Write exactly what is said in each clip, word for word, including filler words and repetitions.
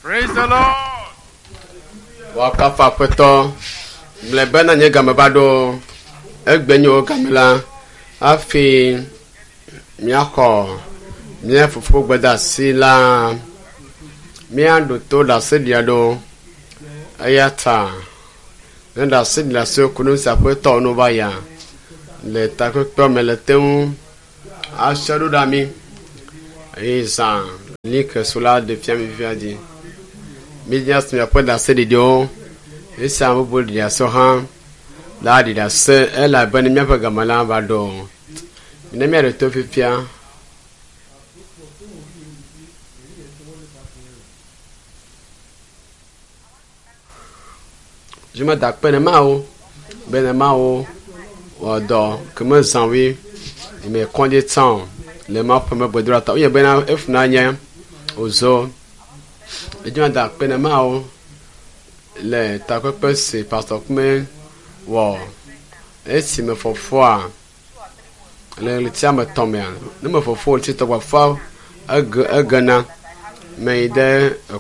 Praise the Lord. Woakafu Aƒetɔ gblɔe bena nye game va ɖo egbe nye wo game la hafi míaxɔ mía fofo gbedeasi la míaɖo to ɖaseɖia ɖo eya ta ne ɖaseɖia siwo ku nu si aƒetɔ nu va ya le takpekpea me le te ŋu ase ɖo ɖa mí eye zã like so la ɖe fia mi fifia dzi. Mídzia si miaƒe ɖaseɖiɖiwo esi ame bubu ɖi ɖase hã la ɖi ɖase elabe ne míaƒe game la va ɖo. Ne míaɖe to fifia. Dzimeda akpe ne Mawu be ne Mawu wɔ dɔ ke mezã woe me kɔdzi tsã o le Mawu ƒe megbedoɖa ta. Wonye bena efuna nye wòzɔ. Edzimeda akpe ne Mawu le takpekpe si Pastor Kume wɔ esime fofoa le ɣleti ame etɔ̃ mea ne me fofo ɣleti etɔ̃ gbɔ ege egena me yi ɖe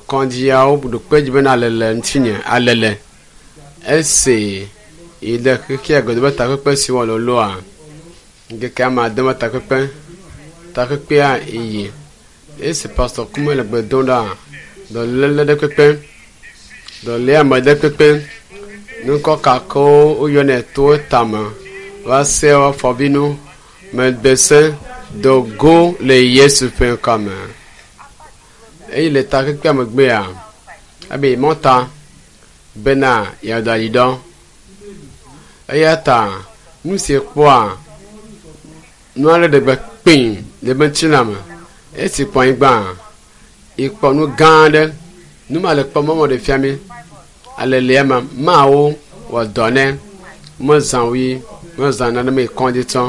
kɔdziawo ɖo kpe dzi bena alele ŋutinye alele esi yi ɖe xexea godo be takpekpe si wɔ loloa ŋkeke ame ade me takpekpe takpekpea yi esi Pastor Kume le gbe dom ɖa dɔléle ɖe kpekpe dɔléame ɖe kpekpe ŋkɔ kakewo woyɔnɛ to tame va se afɔbinu megbese dogo le Yesu ƒe ŋkɔ me eye le takpekpea megbea ebe mɔta bena yeaɖo ayi ɖɔ eya ta nu si kpɔa nu aɖe ɖe gbe kpee le eƒe ŋutilã me esi kpɔ anyigba ekpɔ nu gã aɖe nu ma le kpɔm mɔ ɖe fia mi alelia ma mawo wɔ dɔ nɛ mezã wui mezã nane me kɔdzi tsɔ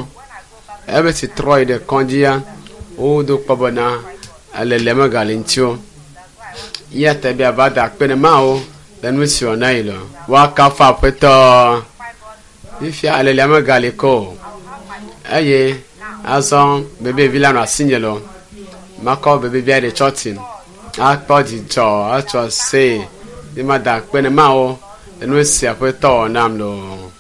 ebe si trɔ yi ɖe kɔdzia wodo kpɔ bena alelia megale ŋuti o ya ta be ava da akpe ne Mawu le nu si wɔ na yi lɔ woakafu Aƒetɔ fifia alelia megali ke o eye azɔ bebevi la nɔ asinye lɔ makɔ bebevia ɖe tsɔtsi akpɔ dzidzɔ atsɔ see ye mada akpe ne Mawu le nu si Aƒetɔ wɔ nam loo.